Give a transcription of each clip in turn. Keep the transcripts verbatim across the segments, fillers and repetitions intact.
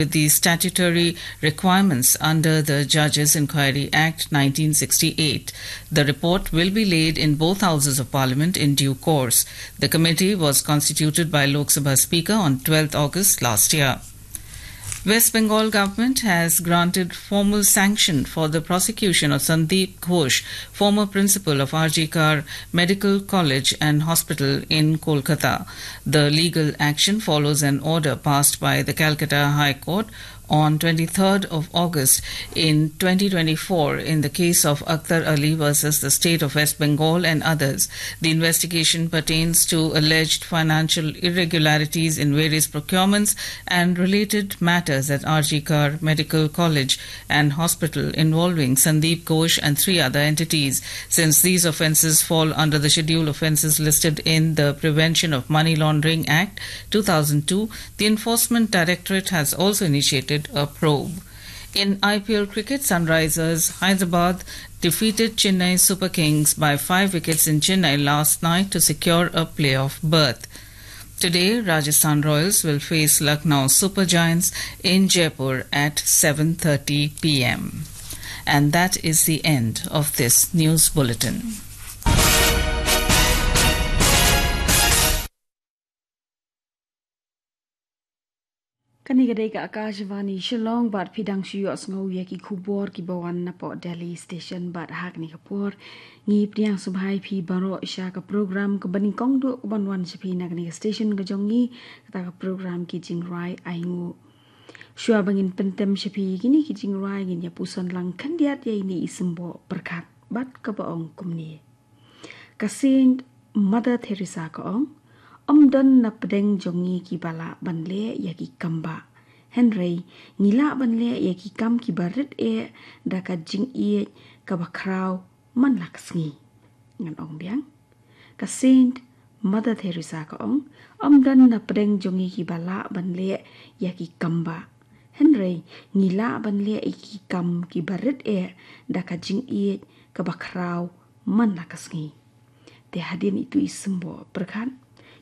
with the statutory requirements under the Judges Inquiry Act nineteen sixty-eight. The report will be laid in both houses of parliament in due course. The committee was constituted by Lok Sabha Speaker on twelfth August last year. West Bengal government has granted formal sanction for the prosecution of Sandeep Ghosh, former principal of R G Kar Medical College and Hospital in Kolkata. The legal action follows an order passed by the Calcutta High Court on twenty-third of August in twenty twenty-four in the case of Akhtar Ali versus the state of West Bengal and others. The investigation pertains to alleged financial irregularities in various procurements and related matters at R G Kar Medical College and Hospital involving Sandeep Ghosh and three other entities. Since these offences fall under the schedule offences listed in the Prevention of Money Laundering Act two thousand two, the Enforcement Directorate has also initiated a probe. In I P L cricket, Sunrisers Hyderabad defeated Chennai Super Kings by five wickets in Chennai last night to secure a playoff berth. Today, Rajasthan Royals will face Lucknow Super Giants in Jaipur at seven thirty p m. And that is the end of this news bulletin. Kane ka dei ka Akashvani Shillong, bad phi dang shu ïohsngew ïa ki khubor kiba wan napoh Delhi Station, bad ha kane ka por ngi pdiang sngewbha ïa phi baroh sha ka program kaba nyngkong duh kaban wan sha phi na kane ka station ka jong ngi, kata ka program Ki Jingrwai Ainguh. Shuwa ba ngin pyntem sha phi ïa kine ki jingrwai, ngin ïa puson lang khyndiat ïa ine i symboh pyrkhat bad kaba ong kumne. Ka Saint Mother Teresa ka ong, ym don na pdeng jong ngi kiba lah ban leh ïa ki kam bah, hynrei ngi lah ban leh ïa ki kam kiba rit eh da ka jingïeit kaba khraw man la ka sngi. Ngan ong biang. Ka Saint Mother Teresa ka ong, ym don na pdeng jong ngi kiba lah ban leh ïa ki kam bah, hynrei ngi lah ban leh ïa ki kam kiba rit eh da ka jingïeit kaba khraw man la ka sngi. Te hadien itu i symboh pyrkhat,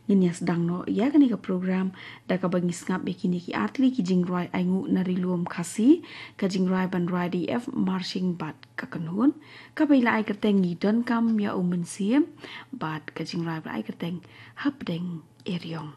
ngin ïa sdang noh ïa kane ka program da kaba ngi sngap ïa kine ki artylli ki jingrwai ainguh na Ri Lum Khasi, ka jingrwai ban rwai da i F Marching bad Ka Kynhun, kaba i la ai kyrteng Ngi Donkam ïa u Mynsiem, bad ka jingrwai ba la ai kyrteng Hapdeng Eriong.